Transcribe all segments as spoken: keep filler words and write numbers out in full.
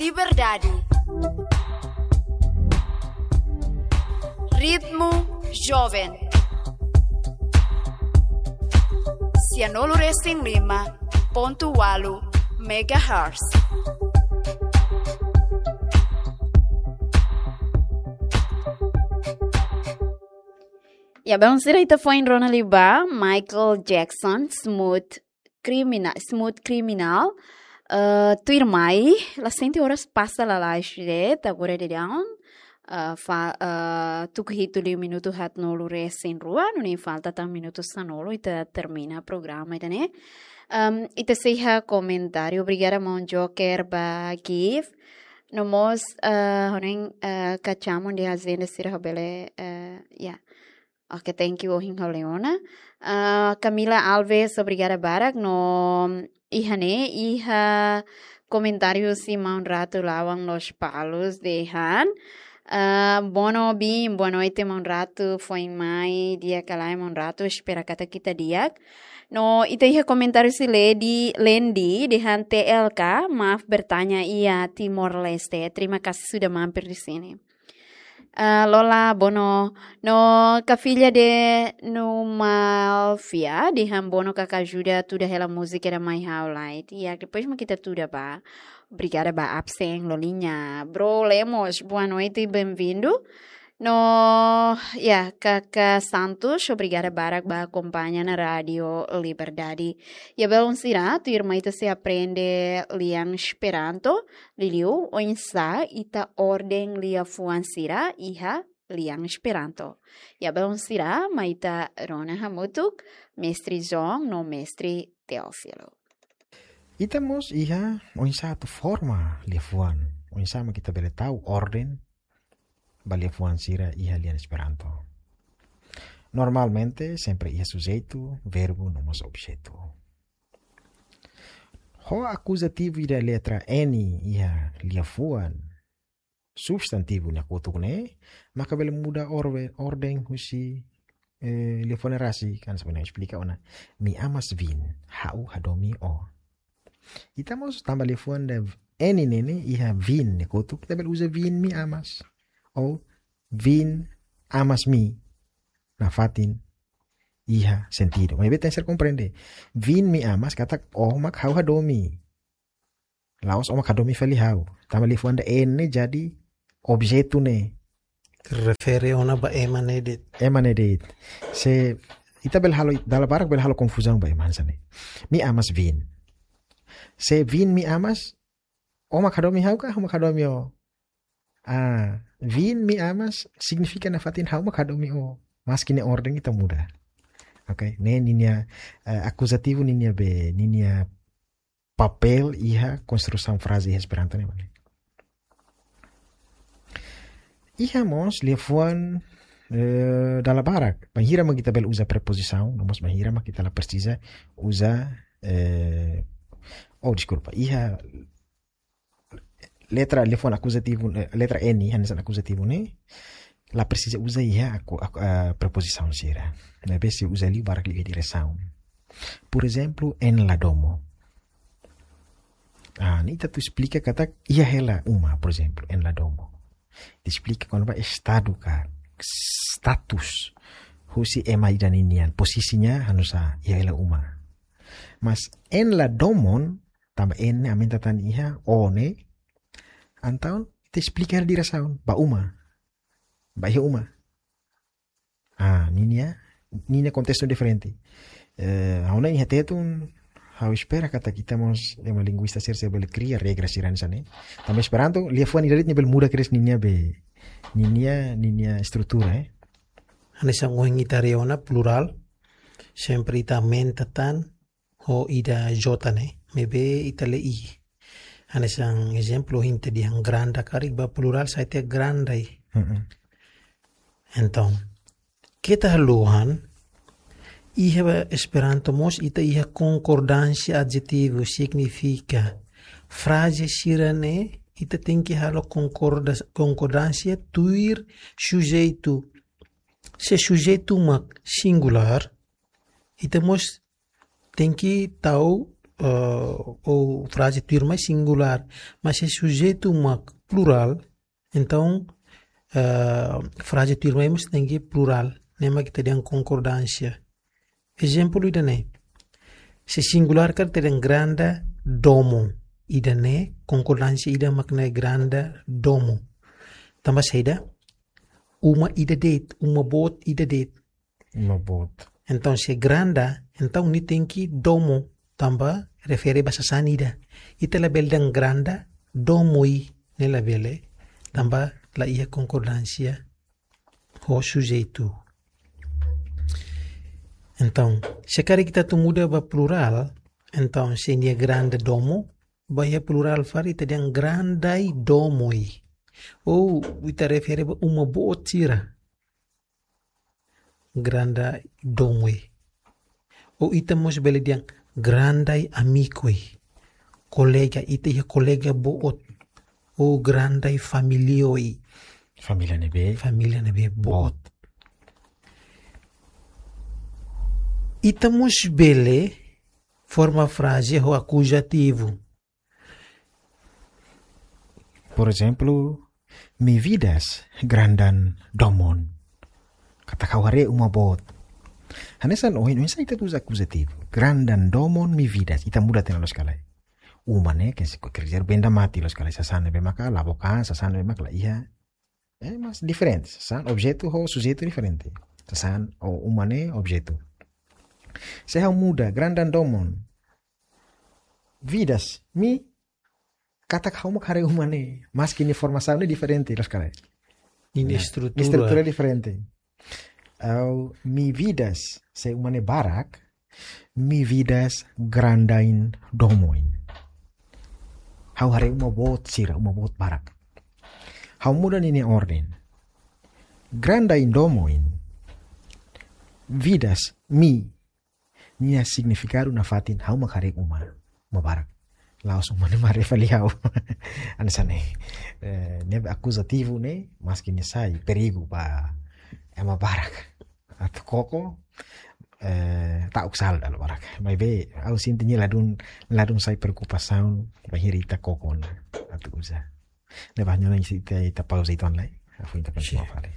Liberdade. Ritmo Jovem. Sianulu resin lima pontu walu megahertz. Ya, belun sira, ita foin rona liu ba Michael Jackson, Smooth Criminal, Smooth Criminal. Eh, tuirmai, la sente oras pasa lalais de'it, agora daudaun. Eh, fa-, eh, tuku hitu liu minutu haatnulu resin rua, nune'e falta tan minutu sanulu, ita termina programa ida-ne'e. Em, ita sei iha komentáriu, obrigada maun Joker ba gift. No mós, eh, ha'u hanoin, eh, kacamun di agenda sira bele, eh, ya. Oke, thank you, ohin ha'u lee ona. Ah, Camila Alves, obrigada barak. No iha ne'e, iha komentáriu husi maun Ratu Lawang Lospalos dehan. Ah, Bono Bim, boa noite, maun Ratu. Foin mai di'ak ka lae, maun Ratu? Espera katak ita di'ak. No ita iha komentáriu husi Lady Lendi dehan, T L K, maaf bertanya, iya, Timor-Leste. Terima kasih sudah mampir di sini. Ah, Lola Bono, no ka filha de Numalfia dehan, Bono, kaka ajuda tuda hela múzika ida mai ha'u lai. Ya, depois mak ita tuda ba. Obrigada ba absen, Lolinha. Bro Lemos, boa noite, bem-vindo. No, ya, Kaka Santos, obrigada barak ba akompaña ona Rádio Liberdade. Ya, belun sira, tuirmai ita sei aprende lian Esperanto, liuliu oinsá ita orden liafuan sira iha lian Esperanto. Ya, belun sira, mai ita rona hamutuk, Mestre João no Mestre Teófilo. Ita mós iha oinsá atu forma liafuan, oinsá mak ita bele tau orden ba liafuan sira iha lian Esperanto. Normalmente, sempre iha sujeitu, verbu, no mós objetu. Ho akuzativu ida letra N iha liafuan substantivu nia kotuk ne'e, maka bele muda orwe-, orden husi, eh, liafuan ne'e rasik, kan sebenarnya esplika ona. Mi amas vin, ha'u hadomi o. Ita mós tanba liafuan ida N ne'e ne'e iha vin nia kotuk, ita bele uza vin mi amas. Ou vin amas mi. Nafatin iha sentidu. Maibé tenke ser komprende. Vin mi amas katak o mak ha'u hadomi. La'ós o mak hadomi fali ha'u. Tanba liafuan ida N ne'e jadi objetu ne'e. Refere ona ba ema ne'e de'it. Ema ne'e de'it. Se ita bele halo, dala barak bele halo konfuzaun ba ema hanesan ne'e. Mi amas vin. Se vin mi amas, o mak hadomi ha'u ka ha'u mak hadomi o? Ah, vin mi amas signifika nafatin ha'u mak hadomi o. Maski nia orden ita muda. Oke, ne'e ninia, eh, akuzativu ninia be, ninia papél iha konstrusaun fraze iha Esperanto ne'e mak ne'e. Iha mós liafuan, eh, dala barak. Bainhira mak ita bele uza prepozisaun, no mós bainhira mak ita la presiza uza, eh, oh, deskulpa. Iha letra, liafuan akuzativu, eh, letra N, hanesan akuzativu ne'e, la presiza uza iha aku-, aku-, ah, prepozisaun sira. Maibé sei uza liu barak liu iha diresaun. Por ezemplu, en la domo. Ah, ne'e ita atu esplika katak iha hela uma, por ezemplu, en la domo. Ita esplika kona-ba estadu ka status husi ema ida ninian, posisinya hanesan iha hela uma. Mas en la domon, tanba N ne'e aumenta tan iha o ne'e. Entaun, ita esplika hela diresaun, ba uma. Ba iha uma. Ah, ninia, ninia kontestu diferente. Eh, ha'u hanoin iha Tetun, ha'u espera katak ita mós ema linguista sira, sira bele kria regra sira hanesan ne'e. Tanba Esperanto, liafuan ida de'it nia bele muda kedas ninia be, ninia, ninia estrutura, eh. Hanesan ohin ita haree ona plurál, sempre ita aumenta tan ho ida J ne'e, maibé ita lee I. Hanesan ezemplu, ohin ita dehan granda karik, ba plurál sai tiha grandai. Mm-mm. Entaun, keta haluha, iha Esperanto mós ita iha konkordánsia adjetivu, signifika fraze sira-ne'e ita tenke halo konkorda-, konkordánsia tuir sujeitu. Se sujeitu mak singulár, ita mós tenke tau eh, ou fraze tuirmai singulár, mas se sujeitu mak plurál, entaun, eh, fraze tuirmai mós tenke plurál, ne'e mak ita dehan konkordánsia. Ezemplu ida-ne'e. Se singulár karik ita dehan granda domo. Ida-ne'e konkordánsia ida mak ne'e granda domo. Tanba saida? Uma ida de'it, uma boot ida de'it. Uma boot. Entaun, se granda, entaun nia tenke domo, tanba refere ba sasán ida. Ita labele dehan granda domoi, ne'e labele, tanba la iha konkordánsia ho sujeitu. Entaun, se karik ita atu muda ba plurál, entaun, se nia granda domo, ba iha plurál fali ita dehan grandai domoi. Ou ita refere ba uma boot sira. Grandai domoi. Ou ita mós bele dehan grandai amikoi. Kolega, ita iha kolega boot. Ou grandai família oi. Família ne'ebé? Família ne'ebé boot. Boot. Ita mós bele forma fraze ho akuzativu. Por ezemplu, mi vidas grandan domon. Katak ha'u haree uma boot. Hanesan ohin, oinsá ita uza akuzativu. Grandan domon mi vidas. Ita muda tiha ona loos ka lae. Uma ne'e, ke se ko kerja benda mati loos ka lae. Sasán ne'ebé maka la book an, sasán ne'ebé maka la iha. Eh, mas diferente. Sasán, objetu ho sujeitu diferente. Sasán, ou uma ne'e objetu. Se ha'u muda, grandan domon. Vidas, mi, katak ha'u mak haree uma ne'e. Maski nia formasaun ne'e diferente, loos ka lae. Nia, nah, estrutura. Estrutura diferente. Ou mi vidas, se uma ne'e barak, mi vidas grandain domoin. Ha'u haree uma boot sira, uma boot barak. Ha'u muda ninia orden. Grandain domoin. Vidas, mi. Nia signifikadu nafatin ha'u mak haree uma. Uma barak. La'ós uma ne'e mak haree fali ha'u. Hanesan ne'e. Eh, ne'e akuzativu ne'e, maski nia sai perigu ba ema barak. Atu koko, eh, ta'uk sala dala barak. Maibé, ha'u sente nia ladún, ladún sai preokupasaun, bainhira ita koko ona, atu uza. Ne'ebá, nyona isi ita, ita pauza ita online. Afu ita kontinua fali.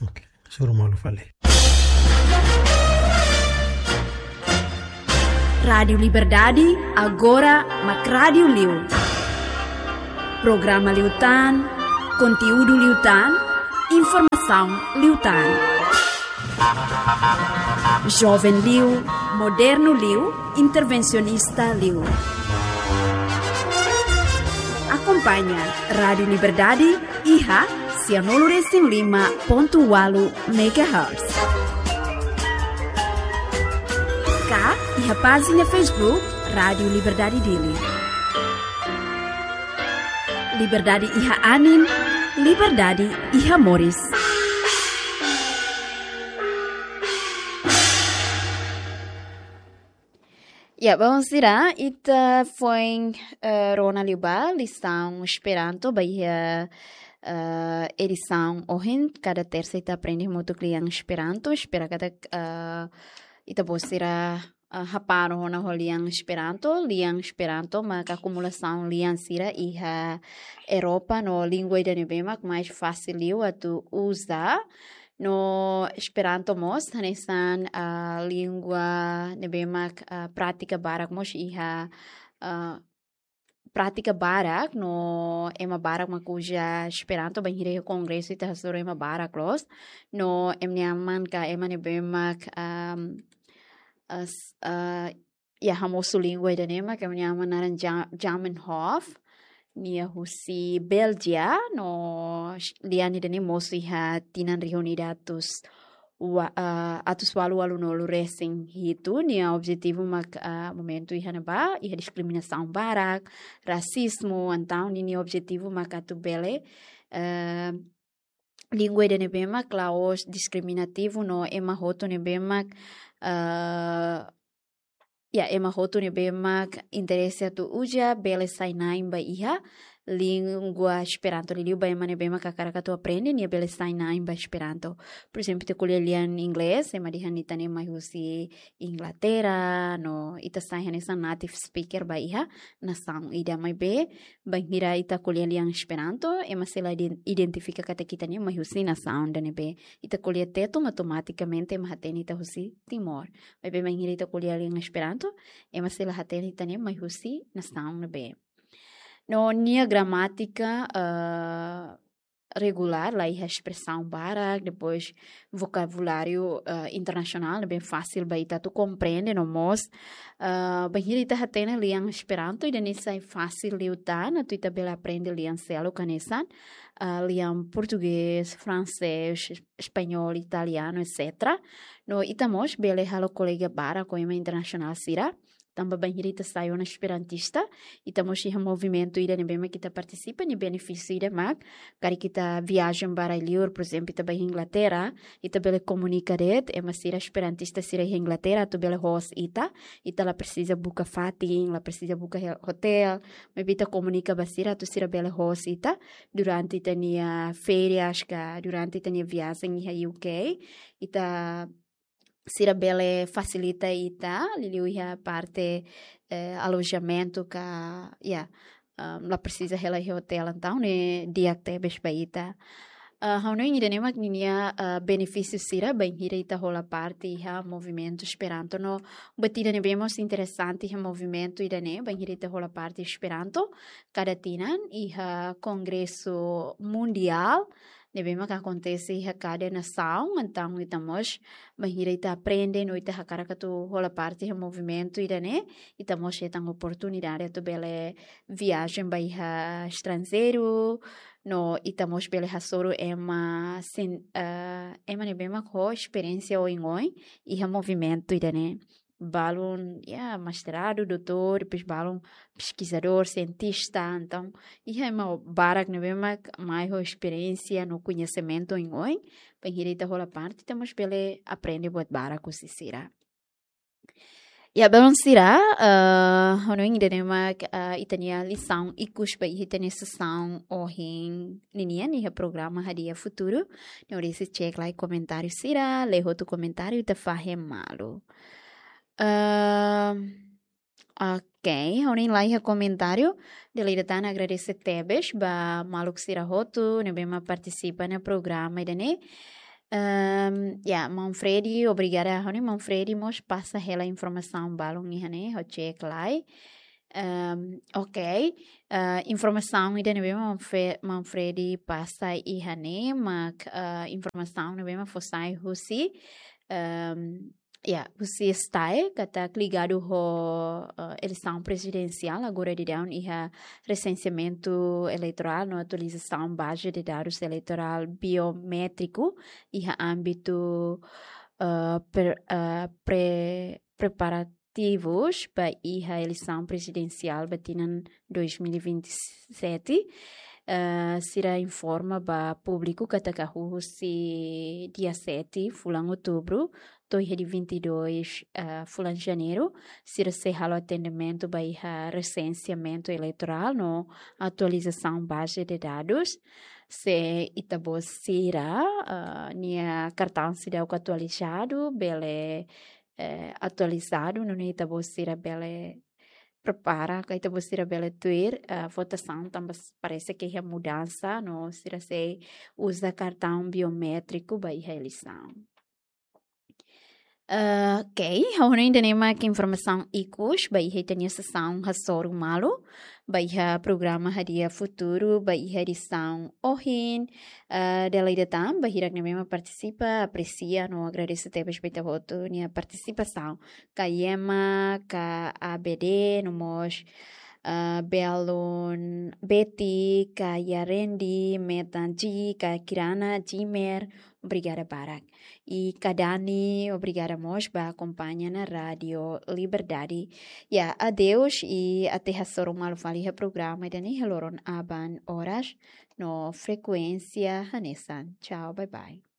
Oke, suru malu fali. Rádiu Liberdade, agora mak rádiu liu. Programa liután, konteúdu liután, informasaun liután. Joven liu, modernu liu, intervensionista liu. Akompaña Rádiu Liberdade iha sianulu resin lima pontu ualu megahertz. Ka iha pájina Facebook Rádiu Liberdade Dili. Liberdade iha anin, liberdade iha moris. Ya, bom, sira, ita foin, eh, rona liu ba lisaun Esperanto, ba iha, eh, edisaun ohin, kada tersa ita aprende hamutuk lian Esperanto, espera katak, eh, ita-boot sira, eh, hapara ona ho lian Esperanto, lian Esperanto, mak akumulasaun lian sira iha Europa, no língua ida ne'ebé mak mais fasil liu atu uza, no Esperanto mós, hanesan, ah, língua ne'ebé mak, ah, prátika barak mós iha, ah, prátika barak, no ema barak mak uza Esperanto, bainhira iha kongresu ita hasoru ema barak loos, no ema nia aman ka ema ne'ebé mak, am, as-, ah, ya, hamosu língua ida-ne'e mak ema nia aman naran Ja-, Zamenhof, nia husi Béljia, no sh-, lian ida-ne'e mosu iha tinan rihun ida atus wa-, ah, atus ualu ualunulu resin hitu, nia objetivu mak, ah, momentu iha ne'ebá, iha diskriminasaun barak, rasizmu, entaun ninia objetivu mak atu bele, eh, língua ida ne'ebé mak la'ós diskriminativu no ema hotu ne'ebé mak, eh, ya, ema hotu ne'ebé mak interese atu uza, bele sai na'in ba iha língua Esperanto, liuliu ba ema ne'ebé mak hakarak atu aprende, nia bele sai na'in ba Esperanto. Por ezemplu, ita ko'alia lian inglés, ema dehan ita-nia mai husi Inglaterra, no ita sai hanesan native speaker ba iha nasaun ida, maibé bainhira ita ko'alia lian Esperanto, ema sei la iden-, identifika katak ita-nia mai husi nasaun ida ne'ebé. Ita ko'alia Tetun, automatikamente ema hatene ita husi Timor. Maibé bainhira ita ko'alia lian Esperanto, ema sei la hatene ita-nia mai husi nasaun ne'ebé. No nia gramátika, eh, regulár, la iha espresaun barak, depois vokabuláriu, eh, internasionál, ne'ebé fasil ba ita atu komprende, no mós, eh, bainhira ita hatene lian Esperanto, ida-ne'e sai fasil liután atu ita bele aprende lian seluk hanesan, eh, lian portugés, fransés, es-, espanhol, italianu, etcétera. No ita mós bele halo kolega barak ho ema internasionál sira, tanba bainhira ita sai ona esperantista, ita mós iha movimentu ida ne'ebé mak ita partisipa, nia benefísiu ida mak, karik ita viajen ba rai-liur, por ezemplu, ita ba Inglaterra, ita bele komunika de'it ema sira esperantista sira iha Inglaterra, atu bele host ita, ita la presiza buka fatin, la presiza buka he-, hotel, maibé ita komunika ba sira, atu sira bele host ita, durante ita-nia férias ka, durante ita-nia viajen iha U K, ita sira bele fasilita ita, liuliu iha parte, eh, alojamentu ka, ya, ah, la presiza hela iha hotel, entaun ne'e di'ak tebes ba ita. Ah, ha'u hanoin ida-ne'e mak ninia, ah, benefísiu sira bainhira ita hola parte iha movimentu Esperanto no buat ida ne'ebé mós interesante iha movimentu ida-ne'e, bainhira ita hola parte Esperanto, kada tinan iha kongresu mundiál ne'ebé mak akontese iha kada nasaun, entaun ita mós, bainhira ita aprende no ita hakarak atu hola parte iha movimentu ida-ne'e, ita mós hetan oportunidade atu bele viajen ba iha estranjeiru, no ita mós bele hasoru ema sin-, eh, ema ne'ebé mak ho esperiénsia oioin iha movimentu ida-ne'e. Balun, ya, mestradu, doutór, depois balun peskizadór, sientista, entaun, iha ema barak ne'ebé mak mai ho esperiénsia no koñesimentu oioin, bainhira ita hola parte, ita mós bele aprende buat barak husi sira. Ya, belun sira, eh, ha'u hanoin ida-ne'e mak, eh, ita-nia lisaun ikus ba iha ita-nia sesaun ohin ninian iha programa Hadi'a Futuru. Ne'e hodi sei cek lai komentáriu sira, lee hotu komentáriu, ita fahe malu. Ehm, ok, ha'u hanoin la iha komentáriu. Dala ida tan agradese tebes ba maluk sira hotu ne'ebé mak partisipa iha programa ida-ne'e. Ehm, ya, Maun Freddy, obrigada. Ha'u hanoin Maun Freddy mós pasa hela informasaun balun iha ne'e, ha'u cek lai. Ehm, ok. Eh, informasaun ida ne'ebé mak Fe-, Maun Freddy pasa iha ne'e mak, eh, informasaun ne'ebé mak fó sai husi, ehm, ya, husi STAE, katak ligadu ho, eh, eleisaun prezidensiál, agora daudaun iha resenseamentu eleitorál no atualizasaun baze de dadus eleitorál biométriku iha ámbitu, eh, per-, eh, pre-, preparativus ba iha eleisaun prezidensiál ba tinan dois mil e vinte e sete, eh, sira informa ba públiku katak husi dia sete fulan Outubru to'o iha dia vinte e dois, eh, fulan Janeiru, sira sei halo atendimentu ba iha resenseamentu eleitorál no atualizasaun baze de dadus. Se ita-boot sira, eh, nia kartaun seidauk atualizadu, bele, eh, atualizadu, nune'e ita-boot sira bele prepara, ka ita-boot sira bele tuir, eh, votasaun, tanba s-, parese ke iha mudansa, no sira sei uza kartaun biométriku ba iha eleisaun. Eh, ok, ha'u hanoin ida-ne'e mak informasaun ikus ba iha ita-nia sesaun hasoru malu ba iha programa Hadi'a Futuru ba iha edisaun ohin. Eh, dala ida tan, ba hirak ne'ebé mak partisipa, apresia no agradese tebes ba ita hotu nia partisipasaun. Ka Yema, ka A B D, no mós, eh, belun Betty, ka Yarendi, Metan G, ka Kirana, Jimer, obrigada barak. I ka Dani, obrigada mós ba akompaña ona Rádio Liberdade. Ya, adeus, i até hasoru malu fali iha programa ida-ne'e iha loron aban oras no frekuénsia hanesan. Tchau, bye bye.